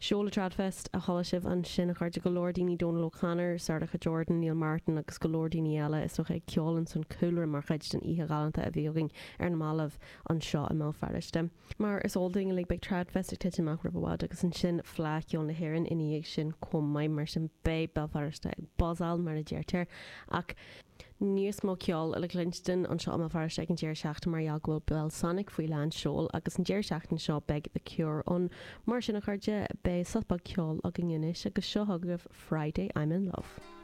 Seoladh Tradfest a chuala sibh ansin, a chairde, go leor daoine, Donal O'Connor, Sarah Jordan, Neil Martin agus go leor daoine eile is dócha ag ceol ins an cúlra mar chuid den oíche ghalánta a bhí againn ar na mallaibh anseo i mBéal Feirste. Mar is eol dúinn uilig beidh Tradfest ag titim amach roimh i bhfad agus ansin Fleadh Cheoil na hÉireann ina dhiaidh sin chomh maith, mar sin beidh Béal Feirste ag buzzáil mar a deirtear. Ach níos mó ceoil le cluinstin anseo i mBéal Feirste ag an deireadh seachtaine mar gheall go bhfuil Belsonic faoi lán seoil agus an deireadh seachtaine seo beidh The Cure ann. Mar sin a chairde, beidh sos beag ceoil againn anois agus seo chugaibh Friday I'm in Love.